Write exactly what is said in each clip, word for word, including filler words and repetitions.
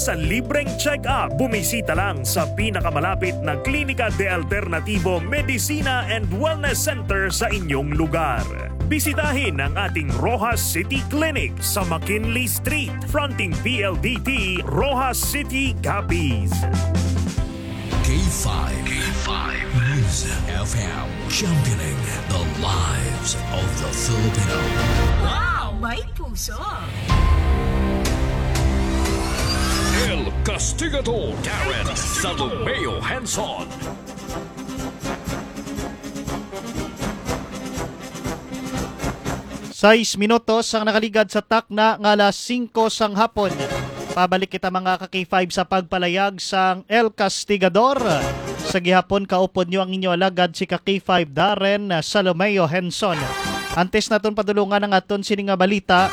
Sa libreng check-up, bumisita lang sa pinakamalapit na Klinika de Alternativo Medicina and Wellness Center sa inyong lugar. Bisitahin ang ating Roxas City Clinic sa McKinley Street, fronting P L D T, Roxas City, Capiz. K five. K five News F M, championing the lives of the Filipino. Wow! May puso! El Castigador, Darren Salomeo Henson. Sais minutos ang nakaligad sa takna nga alas singko sang hapon. Pabalik kita, mga ka-K five, sa pagpalayag sang El Castigador. Sa gihapon, kaupod nyo ang inyo alagad, si ka-K five Darren Salomeo Henson. Antes naton padulungan ang aton sini nga balita,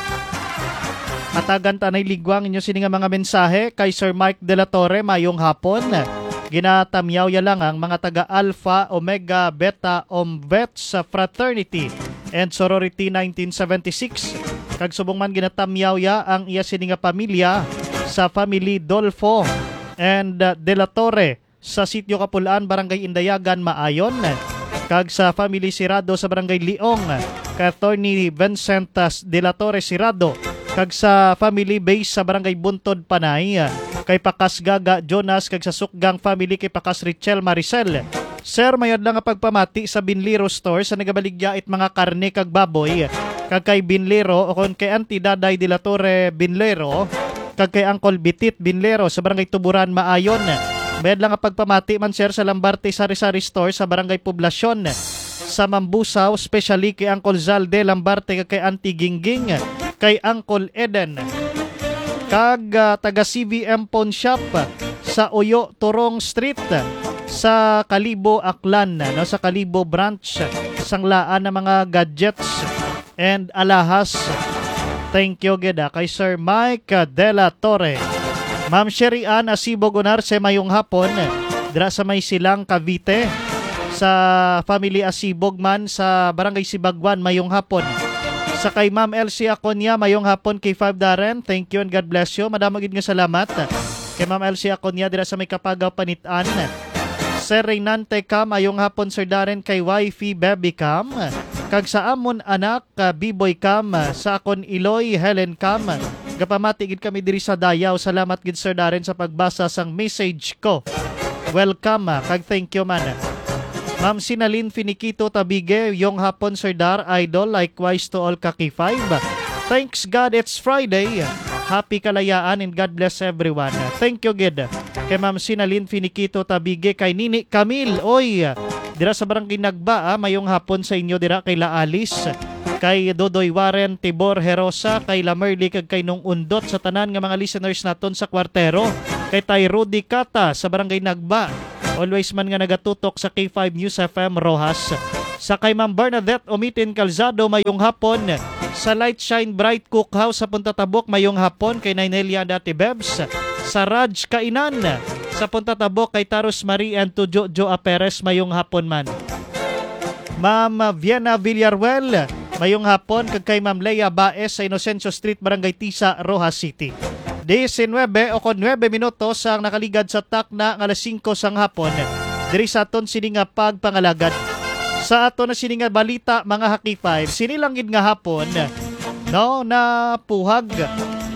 hatagan ta anay ligwang inyo sini nga mga mensahe kay Sir Mike de la Torre, mayong hapon. Ginatamyaw ya lang ang mga taga Alpha Omega Beta Omvets Fraternity and Sorority nineteen seventy-six. Kag subong man, ginatamyaw ya ang iya sini nga pamilya sa family Dolfo and, uh, De La Torre sa Sitio Kapulaan, Barangay Indayagan, Maayon, kag sa family Sirado sa Barangay Liong, kay Attorney Vincent, uh, De La Torre Sirado, kag sa family base sa Barangay Buntod, Panay, kay Pakas Gaga Jonas, kag sa Sukgang family kay Pakas Richel Maricel. Sir, mayad lang nga pagpamati sa Binlero Store sa nagabaligya it mga karne kag baboy, kag kay Binlero, o kon kay Auntie Daday de la Torre Binlero, kag kay Uncle Bitit Binlero sa Barangay Tuburan, Maayon. Mayad lang nga pagpamati man, sir, sa Lambarte Sari Sari Store sa Barangay Poblacion, sa Mambusaw, especially kay Uncle Zalde Lambarte kag kay Auntie Gingging, kay Uncle Eden, kag, ah, taga C V M Pawn Shop sa Uyo Turong Street sa Kalibo, Aklan, no, sa Kalibo branch, sanglaan ng mga gadgets and alahas. Thank you gid, ah, kay Sir Mike, ah, De La Torre. Ma'am Sherry Ann Asibog Unarse, mayong hapon, dira sa may Silang, Cavite. Sa family Asibog man sa Barangay Sibagwan, mayong hapon. Sa kay Ma'am Elsie Aconia, mayong hapon, K five Darren. Thank you and God bless you. Madamo gid nga salamat kay Ma'am Elsie Aconia dira sa may Kapagaw, Panitan. Sir Reynante Cam, mayong hapon, Sir Darren, kay wifey Baby Cam, kag sa amon anak, ka Biboy Cam, sa akon Iloy Helen Cam. Gapamati gid kami diri sa Dayaw. Salamat gid, Sir Darren, sa pagbasa sang message ko. Welcome, ah, kag thank you man. Ma'am Sinalin Finiquito Tabigue, mayong hapon, Sir Dar, Idol, likewise to all ka K five. Thanks God it's Friday. Happy kalayaan and God bless everyone. Thank you gid kay Ma'am Sinalin Finiquito Tabigue, kay Nini Camille, oy, dira sa Barangay Nagba, ah, mayong hapon sa inyo dira kay La Alice, kay Dodoy Warren Tibor Herosa, kay La Merly, kag kay Nung Undot, sa tanan nga mga listeners naton sa Kwartero, kay Tay Rudy Cata sa Barangay Nagba. Always man nga nagatutok sa K five News F M Roxas. Sa kay Ma'am Bernadette Umitin Calzado, mayong hapon. Sa Light Shine Bright Cookhouse sa Punta Tabok, mayong hapon kay Nay Nelia and Ate Bebs. Sa Raj Kainan sa Punta Tabok, kay Tarus Marie and to Jojo Aperes, mayong hapon man. Ma'am Vienna Villarruel, mayong hapon, kag kay Ma'am Lea Baez sa Inocencio Street, Barangay Tisa, Roxas City. Diecinuebe o kon nuebe minutos ang nakaligad sa takna nga alas singko sang hapon diri sa aton sini nga pagpangalagad. Sa aton na sini nga balita, mga ka-K five, sini lang gid nga hapon, no, napuhag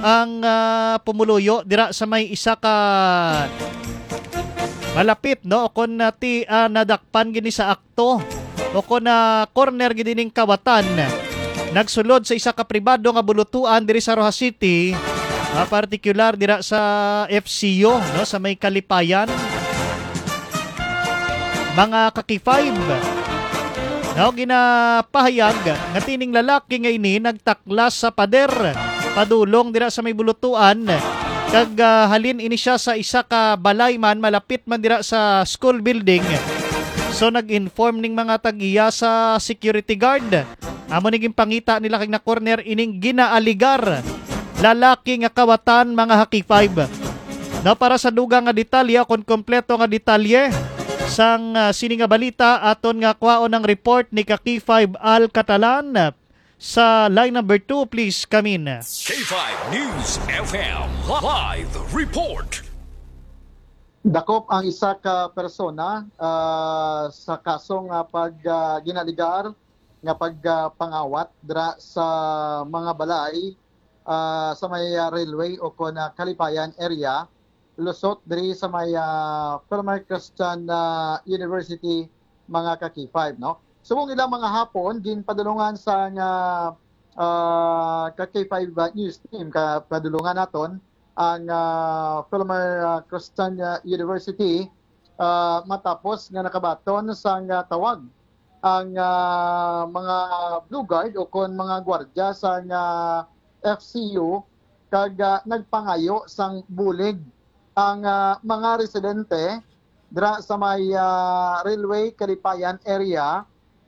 ang, ah, pumuluyo dira sa may isa ka malapit, no, o kon, ah, ti, ah, nadakpan gini sa to, o kon na corner gid ining kawatan. Nagsulod sa isa ka pribado nga bulutuan diri sa Roxas City, ah, partikular dira sa F C U, no, sa may Kalipayan. Mga ka-K five, no, ginapahayag nga tining lalaki nga ini nagtaklas sa pader padulong dira sa may bulutuan, kag, ah, halin ini siya sa isa ka balay man malapit man dira sa school building. So, nag-inform ning mga tag-iya sa security guard. Amo ni ginpangita nila kag na-corner ining ginaaligar lalaki nga kawatan, mga ka-K five. Now, para sa dugang nga detalye o kon kompleto nga detalye sang, ah, sini nga balita, aton nga kwaon ang report ni ka-K five Al Catalan. Sa line number two, please come in. K five News F M live report. Dakop ang isa ka persona ah, sa kaso nga pag ah, ginaligar nga pagpangawat dra sa mga balay ah, sa may ah, railway o kon ah, Kalipayan area, lusot diri sa may ah, Philomar Christian ah, University, mga ka K five, no? Subong ila mga hapon, ginpadulungan sa nga ah, ka K five News Team, ka padulungan naton ang ah, Philomar ah, Christian ah, University ah, matapos nga nakabaton sang ah, tawag ang ah, mga Blue Guard o kon mga gwardya sang ah, F C U kag ah, nagpangayo sang bulig ang ah, mga residente dira sa may ah, Railway Kalipayan area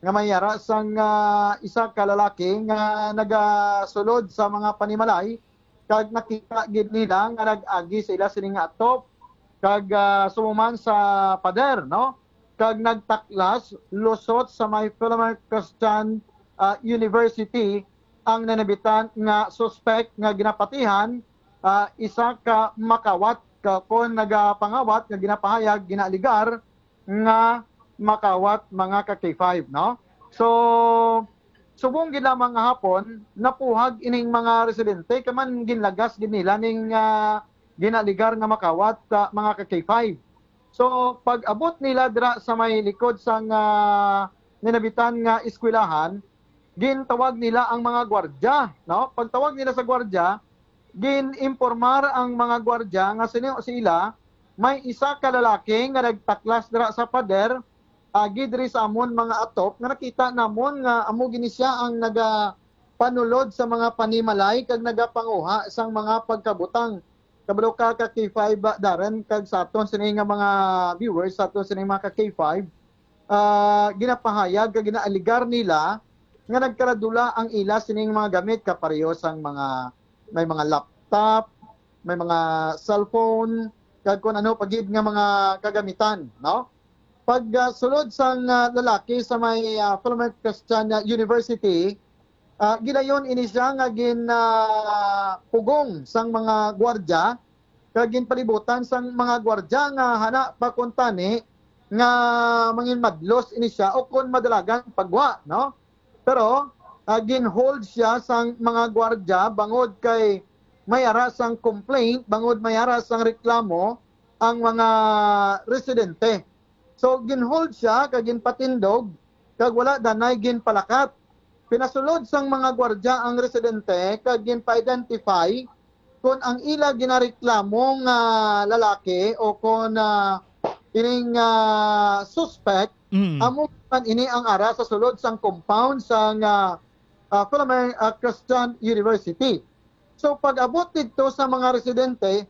nga may ara sang ah, isa ka lalaki nga nagasulod sa mga panimalay kag nakita gid nila nga nag-agi sa ila sini nga atop kag ah, sumuman sa pader, no? Kag nagtaklas lusot sa may Philomar Christian ah, University ang nanabitan nga suspek nga ginapatihan ah, isa ka makawat ka kon nagapangawat nga ginapahayag ginaaligar nga makawat, mga ka K five, no? So, subong gid lamang nga hapon, napuhag ining mga residente kay man ginlagas gid nila ning ah, ginaligar nga makawat, ah, mga ka K five. So, pag-abot nila dira sa may likod sang ah, ninabitan nga eskwelahan, gintawag nila ang mga gwardya, no? Pagtawag nila sa gwardya, gin-impormar ang mga gwardya nga sini sila may isa ka lalaki nga nagtaklas dira sa pader agi diri sa amon mga atop nga nakita namon nga amo gini siya ang nagapanulod sa mga panimalay kag nagapanguha sang mga pagkabutang. Kabalo ka ka K five, Darren, kag sa aton sini nga mga viewers, sa aton sini mga ka K five, ah, ginapahayag kag ginaaligar nila nga nagkaradula ang ila sining mga gamit kapareho sang mga may mga laptop, may mga cellphone, kag kung ano pa gid nga mga kagamitan, no? Pag ah, sulod sang ah, lalaki sa may ah, Philomar Christian ah, University, ah, gilayon ini siya nga gin ah, pugong sang mga gwardya kag ginpalibutan sang mga gwardya nga hana pa kuntani nga manginmadlos ini siya o kon madalagan pagwa, no? Pero ah, ginhold siya sang mga gwardya bangod kay may ara sang complaint, bangod may ara sang reklamo ang mga residente. So ginhold siya kag ginpatindog kag wala danay ginpalakat. Pinasulod sang mga gwardya ang residente kag ginpa-identify kon ang ila ginareklamo nga lalaki o kon ah, ining ah, suspect, Mm. Amo man ini ang ara sa sulod sang compound sang ah, ah, Philomar ah, Christian University. So pag-abot didto sa mga residente,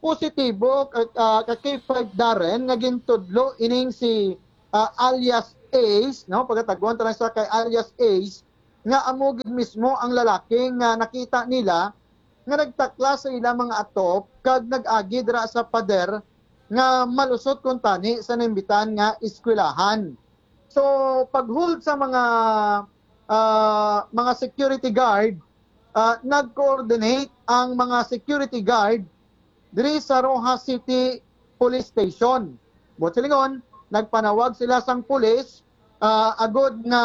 positibo ka, ah, ka K five Darren nga gintudlo ining si ah, alias Ace, no? Pagataguan ta lang siya kay alias Ace, nga amo gid mismo ang lalaki nga nakita nila nga nagtaklas sa ila mga atop kag nag-agi dira sa pader nga malusot kuntani sa naimbitan nga eskwelahan. So, pag-hold sa mga ah, mga security guard, ah, nag-coordinate ang mga security guard diri sa Roxas City Police Station. Buot silingon, nagpanawag sila sang pulis ah, agod nga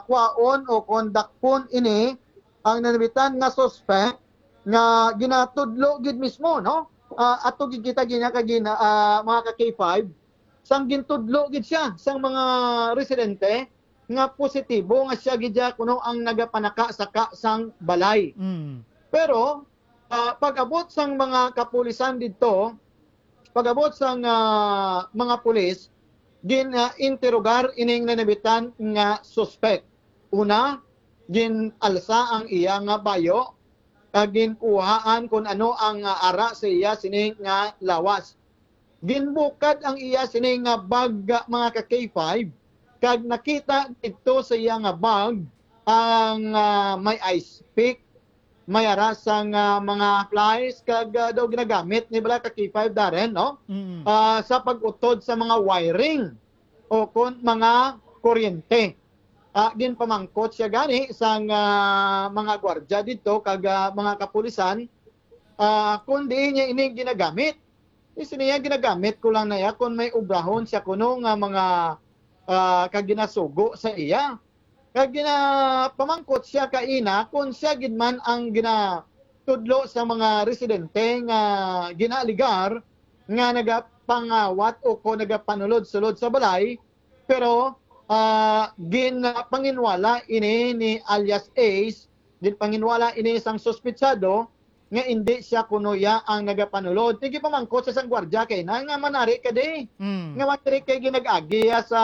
kwaon o kondakpon ini ang nanabitan nga suspect nga ginatudlo gid mismo, no? Ah, ato gid kita gina kag gina, ah, mga ka K five, sang gintudlo gid siya sang mga residente nga positibo nga siya gid siya kuno ang nagapanaka-saka sang balay. Mm. Pero ah, pag-abot sang mga kapulisan didto, pag-abot sang ah, mga pulis, gin-interogar ining nanabitan nga suspek. Una, gin-alsa ang iya nga bayo, kag ginkuhaan kon ano ang ah, ara sa iya sini nga lawas. Ginbukad ang iya sini nga bag, mga ka K five, kag nakita didto sa iya nga bag ang ah, may ice pick, may ara sang ah, mga pliers, kag ah, daw ginagamit ni bala ka K five Darren, no? Mm. Ah, sa pag-utod sa mga wiring o kon mga kuryente. Ah, ginpamangkot siya gani sang, ah, mga gwardya didto kag, ah, mga kapulisan, ah, kung diin niya ini ginagamit. Is niya, ginagamit ko lang na iya kung may obrahon siya kuno nga mga, ah, kag ginasugo sa iya. Kag ginapamangkot siya kaina kung siya gid man ang ginatudlo sa mga residente nga ginaaligar nga nagapangawat o ko nagapanulod-sulod sa balay, pero, ah, ginpanginwala ini ni alias Ace, ginpanginwala ini sang suspitsado nga indi siya kuno iya ang nagapanulod. Tigipamangkot sa sang gwardya kay na nga manari ka di. Mm. Nga manari kay ginag-agi iya sa,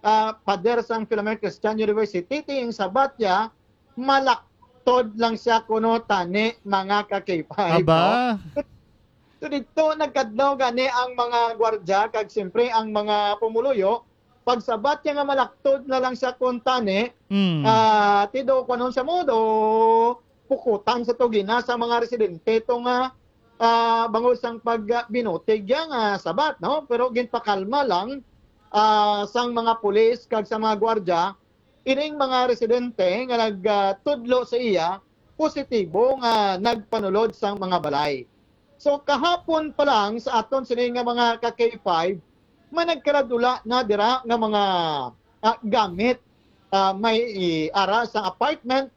ah, pader sang Philomar Christian University, ting sabat niya, malaktod lang siya kuno tani, mga ka-K five, Aba. no? So, dito nagkadlaw gani ang mga gwardya kag siyempre ang mga pumuluyo. Pagsabat niya nga malaktod na lang siya kuno tani, Mm. ah, tido, kuanon siya mo, do, pukutan sa to gina sa mga residente to nga, ah, bangod sang pagbinutig niya nga sabat, no? Pero ginpakalma lang, ah, sang mga pulis kag sa mga gwardya, ining mga residente nga nagtudlo sa iya, positibo nga nagpanulod sang mga balay. So, kahapon pa lang sa aton sini nga mga ka-K five, may nagkaradula na dira nga mga, ah, gamit, ah, may, i-, ara sa apartment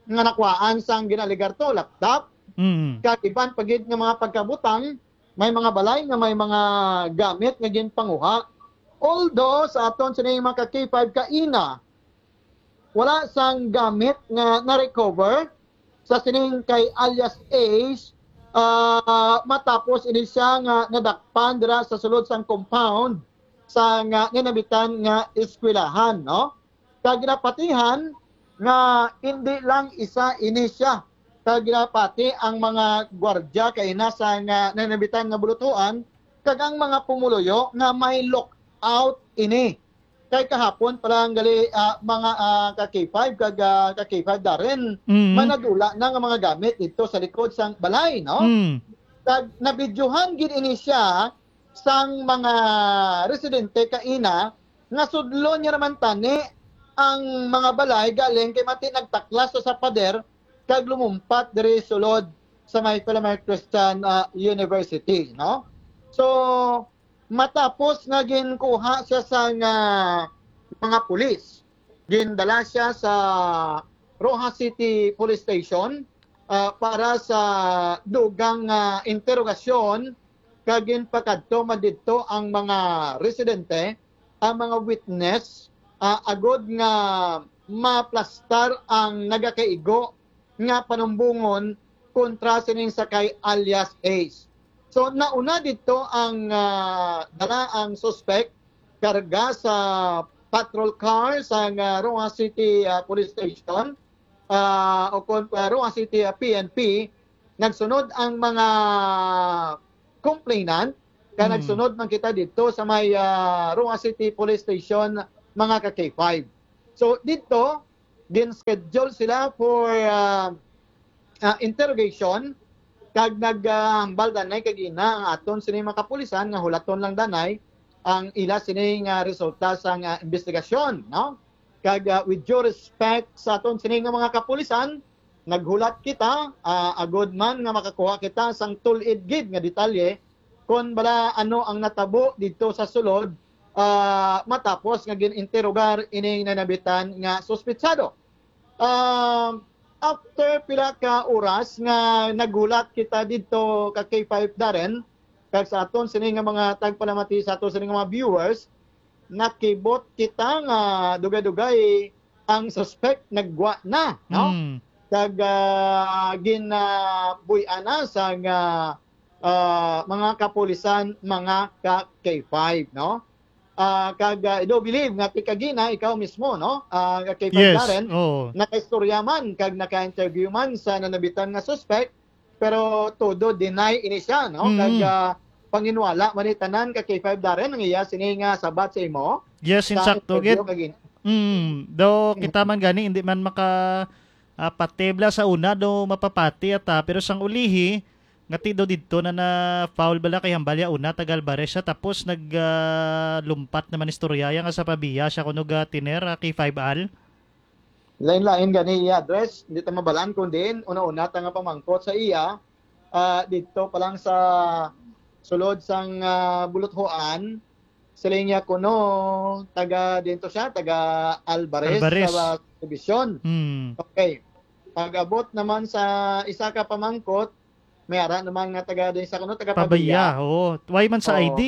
nga nakuhaan sang ginaligar to, laptop, Mm. kag iban pa gid nga mga pagkabutang, may mga balay nga may mga gamit nga ginpanguha. Although sa aton sini mga ka-K five kaina, wala sang gamit nga na-recover sa sining kay alias Ace, ah, matapos ini siya nga nadakpan dira sa sulod sang compound sa nga nanamitan nga eskwelahan, no? Kag ginapatihan nga indi lang isa ini siya. Kag ginapati ang mga gwardya kay nasa nga nanamitan nga bulutuan kag ang mga pumuluyo nga may lookout ini. Kay kahapon pa lang gali, ah, mga, ah, ka-K five kag, ah, ka-K five Darren, Mm. manadula na nga mga gamit dito sa likod sang balay, no? Mm. Kag nabidyohan gid ini siya sang mga residente kaina nga sudlon niya naman tani ang mga balay galing kay mati nagtaklas sa pader kag lumumpat diri sulod sa may Philomar Christian, ah, University, no? So, matapos nga ginkuha siya sa nga mga pulis, gindala siya sa Roxas City Police Station, ah, para sa dugang, ah, interogasyon, kag ginpakadto man didto ang mga residente, ang mga witness, ah, agod nga maplastar ang nagakaigo nga panumbongon kontra sining sakay alias Ace. So, nauna dito ang, ah, dala ang suspect, karga sa patrol car sa, ah, Roxas City, ah, Police Station, ah, o kon, ah, Roxas City, ah, P N P. Nagsunod ang mga complainant, ka Mm. nagsunod man kita dito sa may, ah, Roxas City Police Station, mga ka K five. So, dito, gin-schedule sila for, ah, ah, interrogation, kag nag, ah, hambal danay kag ina ang aton sini mga kapulisan nga hulaton lang danay ang ila sini nga resulta sa nga investigasyon, no? Kag, ah, with due respect sa aton sini nga mga kapulisan, naghulat kita, ah, agod man nga makakuha kita sang tul-id gid nga detalye kon bala ano ang natabo dito sa sulod, ah, matapos nga gin-interogar ining nanabitan nga suspitsado. Ah, after pila ka oras nga naghulat kita dito ka K five Darren, kag sa aton sini nga mga tagpalamati, sa aton sini nga mga viewers, nakibot kita nga dugay-dugay ang suspect naggwa na, no? Mm. Kag, ah, ginabuy-an na sa nga, ah, mga kapulisan, mga ka K five, no? Ah, kag, ah, I do believe nga ti kagina, ikaw mismo, no? Ah, ka K five Yes, Darren, oo. nakaistorya man kag naka-interview man sa nanabitan nga suspect, pero todo deny ini siya, no? Mm. Kag, ah, panginwala man ni tanan ka K five Darren ang iya sini nga sabat sa imo. Yes, sa insakto, interview gid. kagin-, Mm, do Mm. kita man gani, hindi man maka, ah, patibla sa una, do mapapati ata, pero sang ulihi, Ngati daw didto na na-foul bala kay hambal ya una taga Alvarez siya, tapos nag, ah, lumpat naman istorya ya nga sa Pavia siya kuno ga tiner, ah, K five Al. Lain-lain gani iya address, hindi ta mabalaan kung diin. Una-una ta nga pamangkot sa iya, ah, didto pa lang sa sulod sang, ah, Buluthuan, siling niya kuno taga dito siya, taga Alvarez Alvarez. Sa, ah, Division. Hmm. Okay. Pag-abot naman sa isa ka pamangkot, may ara naman nga taga din sa kuno, taga Pabaya, Pabaya. Oo. Why man sa Oo. I D?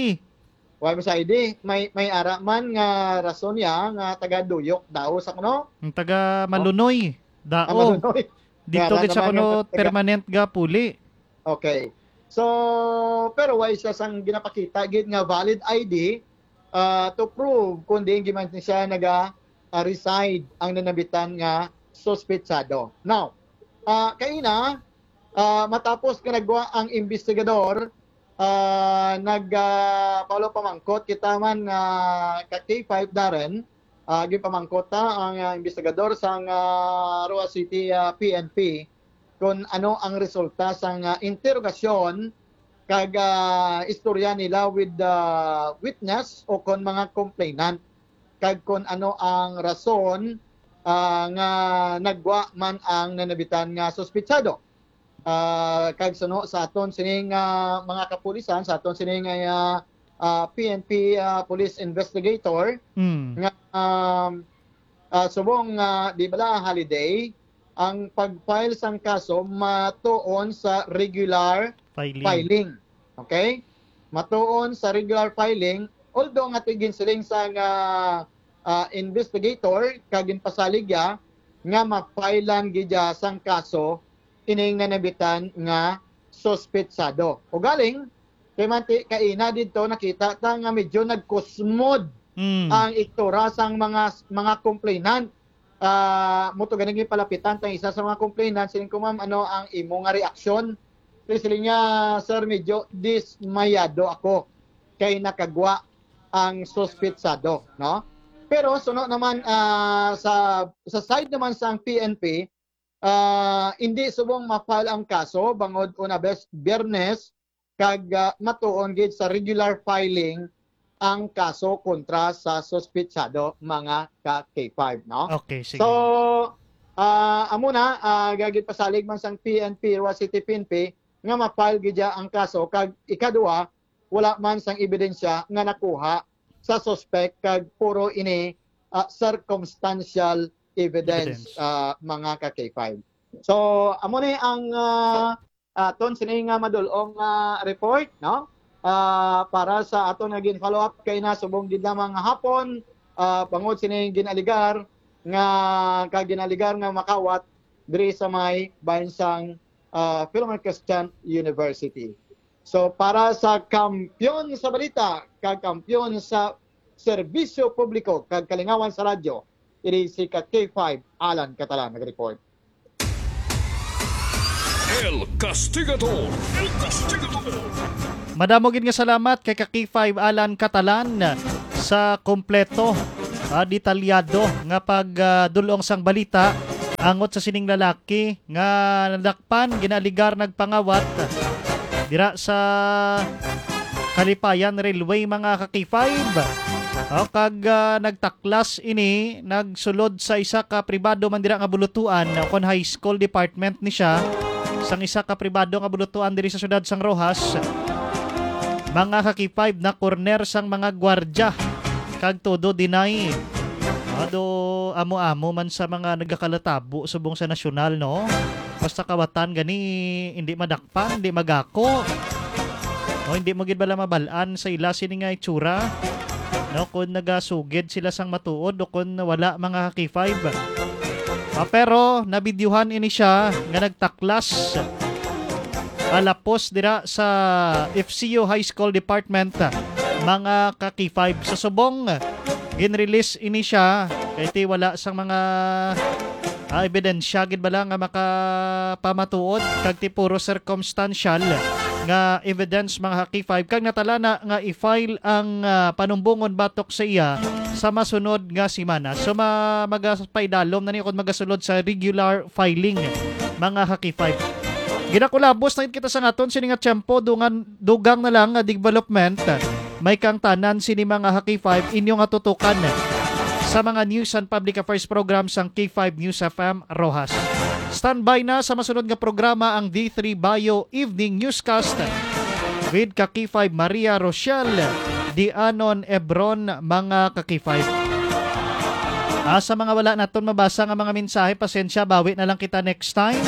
Why man sa I D? May, may ara man nga rason niya nga taga Duyok daw sa kuno? Ang taga Oh. Malunoy, Ah, dao. Malunoy. May Dito ara gid sa naman kuno nga taga permanent ga puli. Okay. So, pero why siya sang ginapakita gid nga valid I D, ah, to prove kung diin gid man siya naga, ah, reside ang nanambitan nga suspetsado. Now, ah, kaina, ah, matapos nga nagwa ang investigador, ah, nag, ah, follow pamangkot kita man, ah, ka K five Darren, ah, ginpamangkot ta ang, ah, investigador sang, ah, Roxas City, ah, P N P kung ano ang resulta sang, ah, interogasyon kag, ah, istorya nila with the witness o kon mga complainant, kag kon ano ang rason, ah, nga nagwa man ang nanabitan nga suspetsado. Ah, kag suno sa aton sining, ah, mga kapulisan, sa aton sining, ah, ah, P N P, ah, police investigator, Mm. nga, um, ah, subong nga, di bala, holiday, ang pag-file sang kaso matuon sa regular Filing. filing. Okay? Matuon sa regular filing, although nga tigin siling sang, ah, ah, investigator, kag ginpasalig ya nga ma-file-an gid ya sang kaso ining nanabitan nga suspetsado. Ugaling, kay manti, kaina didto nakita ta nga medyo nagkusmod Mm. ang iktura sang mga, mga complainant. Ah, mo to ganing palapitan tang isa sa mga complainant, siling ko, "Ma'am, ano ang imo nga reaksyon?" Siling niya, "Sir, medyo dismayado ako kay nakagwa ang suspetsado," no? Pero suno naman, ah, sa, sa side naman sang P N P, ah, hindi subong ma-file ang kaso bangod una bes-, Biyernes, kag, ah, matuon gid sa regular filing ang kaso kontra sa suspetsado, mga ka K five, no? Okay, sige. So, ah, amo na, ah, gagid pasalig man sang P N P, Roxas City P N P, nga ma-file gid ya ang kaso, kag ikaduha, wala man sang ebidensya nga nakuha sa suspek, kag puro ini, ah, circumstantial evidence, Evidence. ah, mga ka K five. So, amo ni ang, ah, aton sini nga madul-ong, ah, report, no? Ah, para sa aton nga gin-follow up kay na subong gid lamang nga hapon, ah, bangod sini ginaligar nga, ka ginaligar nga makawat diri sa may bahin sang, ah, Philomar Christian University. So, para sa kampiyon sa balita, kag kampiyon sa serbisyo publiko, kag kalingawan sa radyo, ini si ka K five Alan Catalan nag-report. El Castigador. El Castigador. Madamo gid nga salamat kay ka K five Alan Catalan sa kompleto, ah, detalyado nga pag, ah, dul-ong sang balita angot sa sining lalaki nga nadakpan, ginaaligar nagpangawat dira sa Kalipayan Railway, mga ka K five. O, kag, ah, nagtaklas ini, nagsulod sa isa ka pribado man dira nga bulutuan, o kon high school department ni siya, sang isa ka pribado nga bulutuan diri sa siyudad sang Roxas. Mga ka K five, na-corner sang mga gwardya kag todo deny. Ado, amo-amo man sa mga nagakalatabo subong sa nasyonal, no? Basta kawatan gani, hindi madakpan, hindi magako. O, hindi mo gid bala mabal-an sa ila sini nga itsura, no? Kung nagasugid sila sang matuod o kung wala, mga ka K five. Ah, pero nabidyuhan ini siya nga nagtaklas, ah, lapos dira sa F C U High School Department, mga ka K five. Sa subong, ginrelease ini siya kay ti wala sang mga, ah, ebidensya gid bala nga makapamatuod, kag ti puro circumstantial nga evidence, mga ka K five, kag natala na nga i-file ang, ah, panumbongon batok sa iya sa masunod nga semana. So, ma-, magapaidalom na ni kon magasulod sa regular filing, mga ka K five. Ginakulabos na gid kita sa naton sini nga tiyempo, dungan, dugang na lang nga development. May kang tanan sini mga ha K five inyo nga tutukan sa mga news and public affairs program sang K five News F M Roxas. Standby na sa masunod nga programa ang D three Bio Evening Newscast with ka K five Maria Rochelle Dianon Ebron, mga ka K five. Ah, sa mga wala naton mabasa nga mga mensahe, pasensya, bawi na lang kita next time,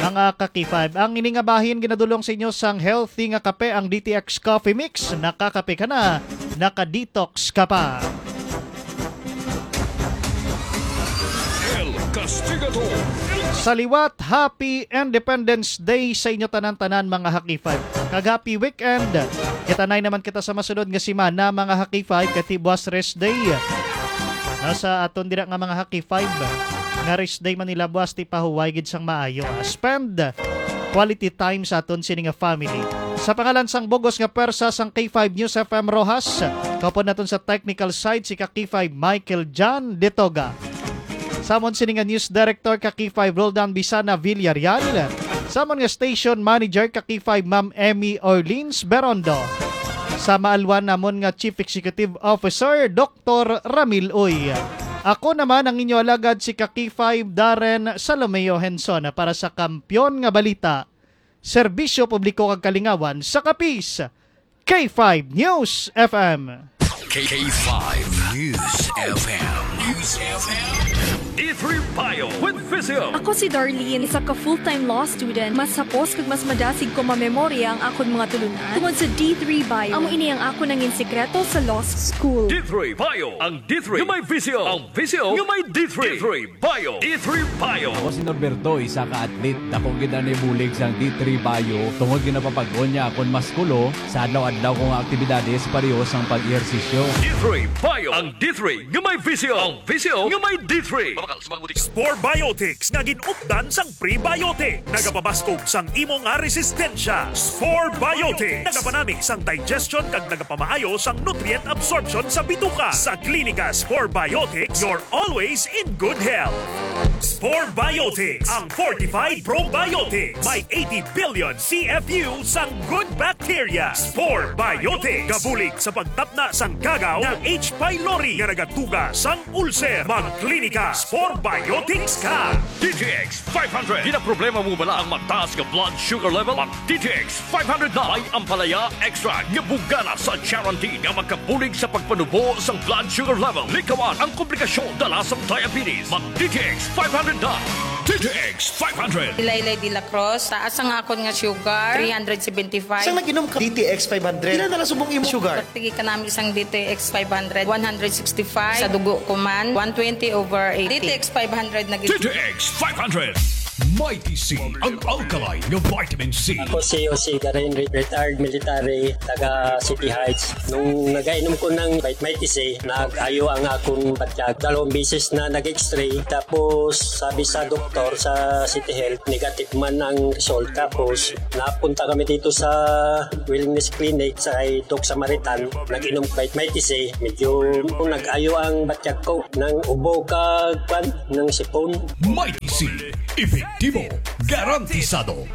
mga ka K five. Ang ini nga bahin ginadulong sa inyo sang healthy nga kape, ang D T X Coffee Mix. Nakakape ka na, naka-detox ka pa. El Castigador. Sa liwat, Happy Independence Day sa inyo tanan-tanan, mga ha K five. Kag happy weekend. Kita nay naman kita sa masunod nga semana, mga ha K five, kay ti buwas rest day. No, sa aton dira nga mga ha K five, nga rest day man nila buwas, ti pahuway gid sang maayo. Ah, spend quality time sa aton sini nga family. Sa pangalan sang bugos nga pwersa sang K five News F M Roxas, kaupod naton sa technical side si ka K five Michael John Detoga. Samon sini nga news director ka K five Roldan Bisana Villarreal. Samon nga station manager ka K five Ma'am Emmy Orleans Berondo. Sa maalwan namon nga Chief Executive Officer, Doktor Ramil Uy. Ako naman ang inyo alagad si ka K five Darren Salomeo Henson para sa Kampiyon nga Balita, Serbisyo Publiko kag Kalingawan sa Capiz, K five News F M. K five News F M. News F M. D three Bio with Physio. Ako si Darlene, isa ka full-time law student. Mas hapos kag mas madasig ko mamemorya ang akon mga tulunan tungod sa D three Bio. Amo ini ang akon nangin sikreto sa law school. D three Bio, ang D three nga may Physio. Ang Physio nga may D three. D three Bio. D three Bio. Ako si Norberto, isa ka athlete. Dako gid ang nabulig sang D three Bio tungod ginapapag-on niya akon maskulo sa adlaw-adlaw ko nga aktibidades, pareho sang pag-ehersisyo. D three Bio. Ang D three nga may Physio. Ang Physio nga may D three. Mabakal sa mga butika. Spore Biotics nga gin-updan sang prebiotic. Nagapabaskog sang imo nga resistensya. Spore Biotics. Nagapanami sang digestion kag nagapamaayo sang nutrient absorption sa bituka. Sa Klinika Spore Biotics, you're always in good health. Spore Biotics, ang fortified probiotics. May eighty billion C F U sang good bacteria. Spore Biotics. Gabulig sa pagtapna sang kagaw nga H. pylori nga nagatuga sang ulcer. Magklinika Spore Biotics ka. D T X five hundred. Ginaproblema mo bala ang mataas nga blood sugar level? Mag D T X five hundred na. May ampalaya extract nga bugana sa charantin nga makabulig sa pagpanubo sang blood sugar level. Likawan ang komplikasyon dala sang diabetes. Mag D T X five hundred na. D T X five hundred. Laylay de la Cruz, taas ang akon nga sugar, three hundred seventy-five. Sang nag-inom ka D T X five hundred, pila na lang subong imo sugar? Pagtigi ka namin sang D T X five hundred, one hundred sixty-five. Sa dugo ko man, one twenty over eighty. D T X five hundred na gid. D T X five hundred. Mighty C, ang alkaline nga vitamin C. Ako si Jose Garin, re-, retired military, taga City Heights. Nung nagainom ko ng Mighty C, nag-ayo ang akong batyag. Dalawang beses na nag-X-ray. Tapos, sabi sa doktor sa City Health, negative man ang result. Tapos, napunta kami dito sa Wellness Clinic sa kay Doc Samaritan. Nag-inom Mighty C. Medyo nag-ayo ang batyag ko. Nang ubo ka, kwan, ng sipon. Mighty C, epektibo, garantisado.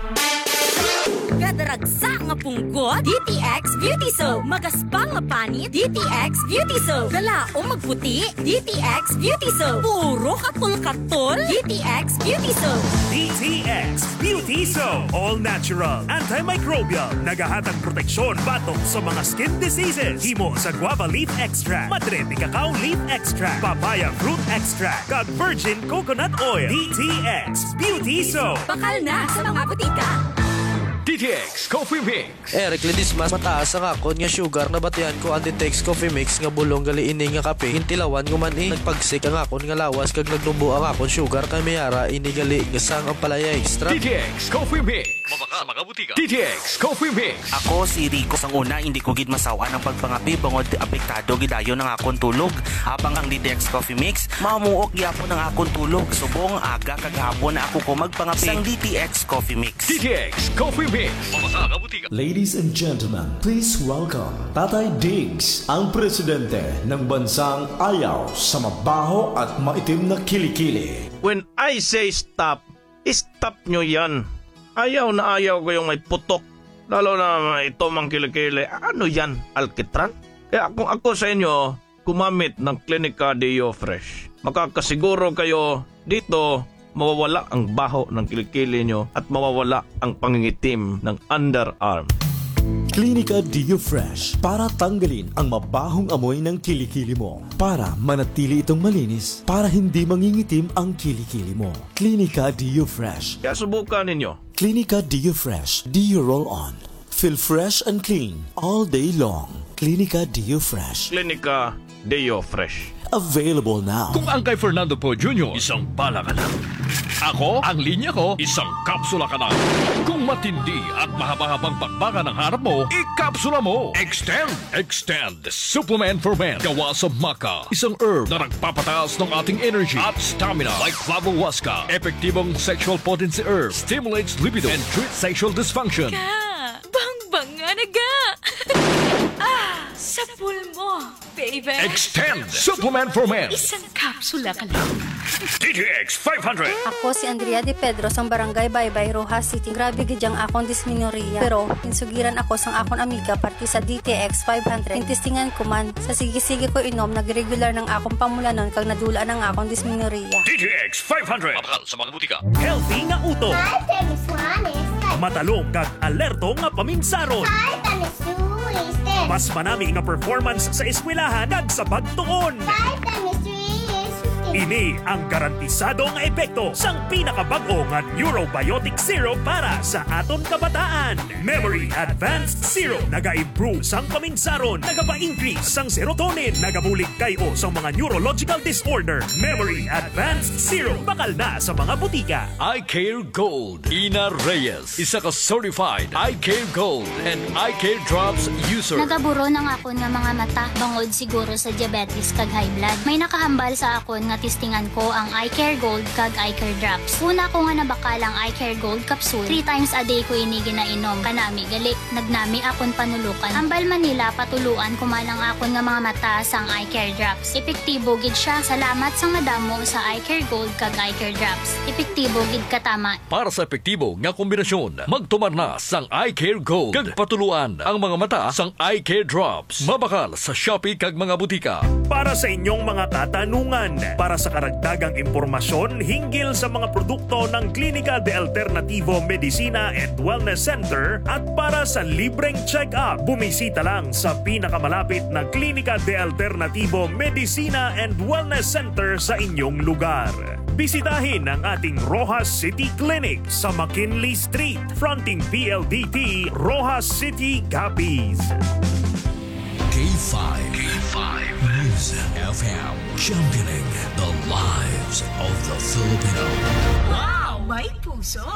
Kadaragsa nga punggot, D T X Beauty Soap. Magaspang nga panit, D T X Beauty Soap. Dala o magputi, D T X Beauty Soap. Puro katol-katol, D T X Beauty Soap. D T X Beauty Soap. All natural, antimicrobial. Nagahatag proteksyon batok sa mga skin diseases. Himo sa guava leaf extract, madre de cacao leaf extract, papaya fruit extract, kag virgin coconut oil. D T X Beauty Soap. Bakal na sa mga butika. D T X Coffee Mix. Eric Ledesma, mataas ang akon nga sugar. Nabatian ko ang D T X Coffee Mix nga bulong gali ini nga kape. Gintilawan ko man, eh, nagpagsik ang akon nga lawas kag nagnubo ang akon sugar, kay may ara ini gali nga sang ampalaya extract. D T X Coffee Mix. Mabakal sa mga butika. D T X Coffee Mix. Ako si Rico. Sang una, hindi ko gid masaw-an ang pagpangape bangod apektado gid dayon ang akon tulog. Habang ang D T X Coffee Mix, mamuok gyapon ang akon tulog. Subong aga kag hapon na ako ko magpangape. Sang D T X Coffee Mix. D T X Coffee Mix. Mabakal sa mga butika. Ladies and gentlemen, please welcome Tatay Diggs, ang presidente ng bansang ayaw sa mabaho at maitim na kilikili. When I say stop, stop nyo yan. Ayaw na ayaw ko yung may putok. Lalo na ito mang kilikili. Ano yan? Alkitran? Kaya kung ako sa inyo, gumamit ng Clinica Deo Fresh. Makakasiguro kayo dito mawawala ang baho ng kilikili nyo at mawawala ang pangingitim ng underarm. Clinica Deo Fresh para tanggalin ang mabahong amoy ng kilikili mo. Para manatili itong malinis, para hindi mangingitim ang kilikili mo. Clinica Deo Fresh. Kaya subukan ninyo. Clinica Deo Fresh Deo Roll On. Feel fresh and clean all day long. Clinica Deo Fresh. Clinica Deo Fresh. Available now. Kung ang kay Fernando Poe Junior, isang bala ka lang. Ako, ang linya ko, isang kapsula ka lang. Kung matindi at mahaba-habang bakbakan ang harap mo, ikapsula mo. Extend, extend. Supplement for Men. Gawa sa maca, isang herb na nagpapataas ng ating energy at stamina. Like Flavo Huasca, epektibong sexual potency herb, stimulates libido, and treats sexual dysfunction. Ka, bangbang nga naga. Ah, sa pulmo, baby. Extend Supplement for Men. Isang kapsula ka lang. D T X five hundred. Ako si Andrea De Pedro sang Barangay Baybay, Roxas City. Grabe gid ang akon dismenorrhea. Pero insugiran ako sang akon amiga parte sa D T X five hundred. Intestingan ko man. Sa sige-sige ko inom, nagregular nang akon pamulanon kag nadula nang akon dismenorrhea. D T X five hundred. Mabakal sa mga butika. Healthy nga utok. Five times one is Matalom kag alerto nga paminsaron. Five times two is ten. Mas manami nga performance sa eskwelahan kag sa pagtuon. Five times three is fifteen. Ini ang garantisado nga epekto sang pinakabag-o nga neurobiotic syrup para sa aton kabataan. Memory Advanced Syrup naga-improve sang paminsaron, nagapa-increase sang serotonin, nagabulig kay-o sang mga neurological disorder. Memory Advanced Syrup, bakal na sa mga butika. Eye Care Gold, Ina Reyes, isa ka certified Eye Care Gold and Eye Care Drops user. Nagaburon ang akon nga mga mata, bangod siguro sa diabetes kag high blood. May nakahambal sa akon nga testingan ko ang Eye Care Gold kag Eye Care Drops. Una ko nga nabakal ang Eye Care Gold capsule, three times a day ko ini ginainom. Kanami gali, nagnami akon panulokan. Hambal man nila patuluan ko man ang akon nga mga mata sang Eye Care Drops. Epektibo gid siya. Salamat sang madamo sa Eye Care Gold kag Eye Care Drops. Epektibo gid katama. Para sa epektibo nga kombinasyon, magtumar na sang Eye Care Gold kag patuluan ang mga mata sang Eye Care Drops. Mabakal sa Shopee kag mga butika. Para sa inyong mga katanungan, para sa karagdagang impormasyon hinggil sa mga produkto ng Klinika de Alternativo Medicina and Wellness Center at para sa libreng check-up, bumisita lang sa pinakamalapit na Klinika de Alternativo Medicina and Wellness Center sa inyong lugar. Bisitahin ang ating Roxas City Clinic sa McKinley Street, fronting P L D T, Roxas City, Capiz. K five, K five News F M, championing the lives of the Filipino. Wow! May puso!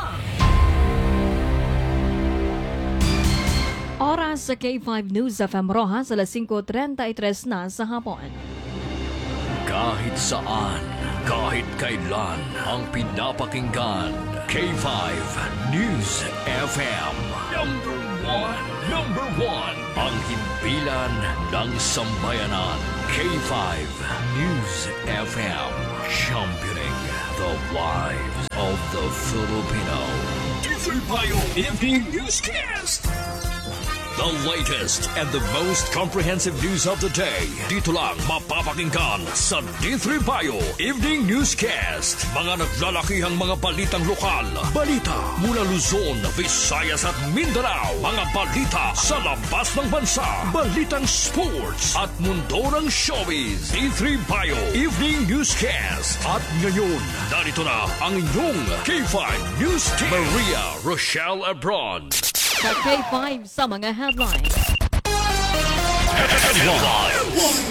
Oras sa K five News F M Roxas, alas singko treinta y tres na sa hapon. Kahit saan, kahit kailan, ang pinapakinggan, K five News F M. Number one, number one, ang himpilan ng sambayanan, K five News F M, championing the lives of the Filipino. D three Bayo Evening Newscast. The latest and the most comprehensive news of the day. Dito lang mapapakinggan sa D three Bayo Evening Newscast. Mga naglalakihang mga balitang lokal, balita mula Luzon, Visayas at Mindanao, mga balita sa labas ng bansa, balitang sports at mundo ng showbiz. D three Bayo Evening Newscast. At ngayon, narito na ang inyong K five News Team, Maria Rochelle Abron. Sa K five sa mga headlines. Headlines.